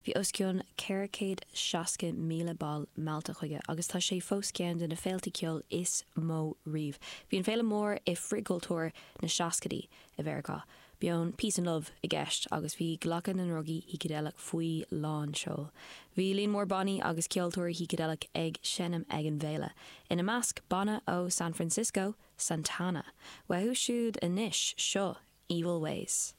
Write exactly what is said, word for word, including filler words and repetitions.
Bhí os cionn ceithre chéad seasca míle ball meallta chuige agus tá sé fós ceann de na féilte ceoil is mó riamh. Bhí an féile mór i frithchultúr na seascaidí i Mheiriceá. Bíonn peace and love i gceist agus bhí glacadh na ndrugaí shícideileach faoi lán seoil. Bhí líon mór bannaí agus ceoltóirí shícideileach ag seinm ag an bhféile. Ina measc banna ó San Francisco, Santana. Uathu siúd anois seo Evil Ways.